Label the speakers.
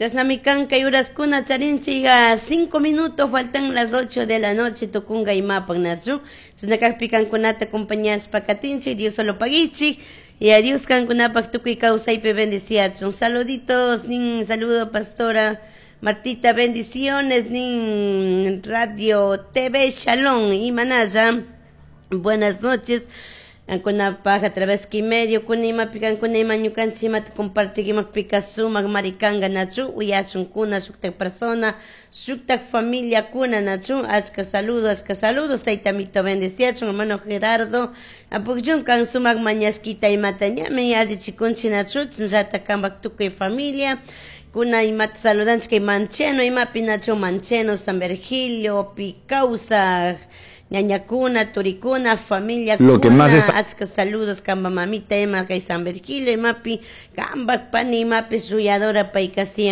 Speaker 1: Chashnami kan kay uraskuna charinchik 5 minutos faltan las 8 de la noche tukunga imapak, nachu? Chashna kakpi kankunata acompañashpa katinchik. Dios solo paguichik y a Dios kankunapak tukuy kawsaypi bendiciachun. Saluditos nin, saludo, pastora Martita, bendiciones nin Radio TV Shalom y Manaya. Buenas noches. Kankunapaj a través que medio kuna imapi kankuna ima ñukanchik imata compartikimakpika sumak marikanga, nachu? Uyachunkuna shuktak persona, shuktak familia kuna, nachu? Achka saludos, achka saludos. Tayta Mito bendeciachun. Hermano Gerardo apukchun kan sumak mañashkita imata ñami allichikunchik, nachu? Chashnallata kanpak tukuy familia kuna imata saludanchik kay Mancheno imapi, nachu? Mancheno, San Virgilio pi kawsak ñañakuna, turikuna, familia.
Speaker 2: Lo que más está
Speaker 1: Achka saludos kamba mamita ima kay San Virgilio imapi, kambak pani imapi shuyadora payka siempre.